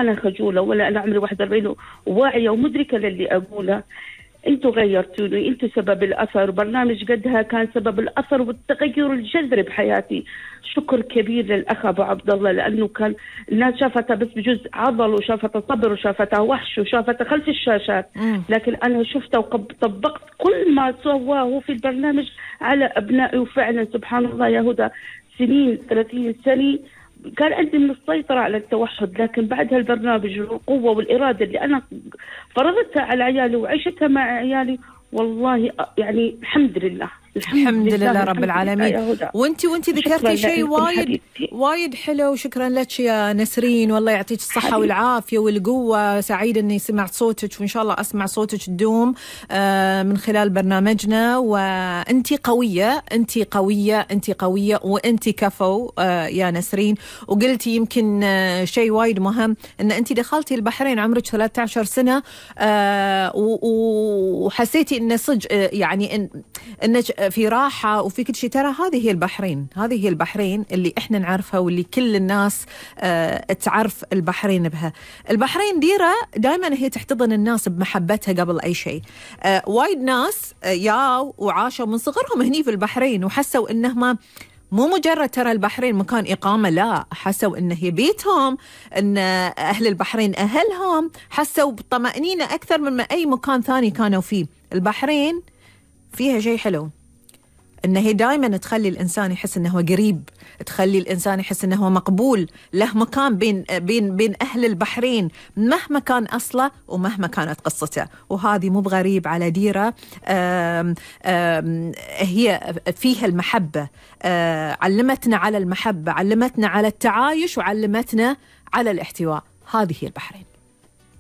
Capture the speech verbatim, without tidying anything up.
أنا خجولة ولا أنا عمري واحد وأربعين وواعية ومدركة للي أقوله. أنتوا غيرتوني، أنتوا سبب الأثر، برنامج قدها كان سبب الأثر والتغير الجذري بحياتي. شكر كبير للأخ أبو عبد الله، لأنه كان الناس شافتها بس بجزء عضل، وشافتها صبر، وشافتها وحش، وشافتها خلف الشاشات، لكن أنا شفتها وطبقت كل ما سواه في البرنامج على أبنائي. وفعلا سبحان الله يا هدى، سنين ثلاثين سنة كان عندي من السيطرة على التوحد، لكن بعد هالبرنامج والقوة والإرادة اللي أنا فرضتها على عيالي وعيشتها مع عيالي، والله يعني الحمد لله الحمد, الحمد لله, لله رب العالمين. وانتي وانتي ذكرتي شيء وايد وايد حلو، شكرا لك يا نسرين، والله يعطيك الصحة حبيبتي. والعافية والقوة. سعيدة اني سمعت صوتك، وان شاء الله اسمع صوتك تدوم آه من خلال برنامجنا. وانتي قوية، انتي قوية، انتي قوية، وانتي كفو آه يا نسرين. وقلتي يمكن آه شيء وايد مهم، ان انتي دخلتي البحرين عمرك ثلاثة عشر سنة آه وحسيتي ان صج آه يعني ان انك في راحة وفي كل شيء. ترى هذه هي البحرين، هذه هي البحرين اللي احنا نعرفها، واللي كل الناس اه تعرف البحرين بها. البحرين ديرة دائما هي تحتضن الناس بمحبتها قبل اي شيء. اه وايد ناس اه ياو وعاشوا من صغرهم هني في البحرين، وحسوا انهم مو مجرد ترى البحرين مكان إقامة، لا، حسوا إنه هي بيتهم، إن أهل البحرين أهلهم، حسوا بطمأنينة أكثر من أي مكان ثاني كانوا فيه. البحرين فيها شيء حلو، إنه هي دائما تخلي الإنسان يحس إنه هو قريب، تخلي الإنسان يحس إنه هو مقبول، له مكان بين بين بين أهل البحرين مهما كان أصله ومهما كانت قصته. وهذه مو بغريب على ديرة. آم آم هي فيها المحبة، علمتنا على المحبة، علمتنا على التعايش، وعلمتنا على الاحتواء. هذه هي البحرين.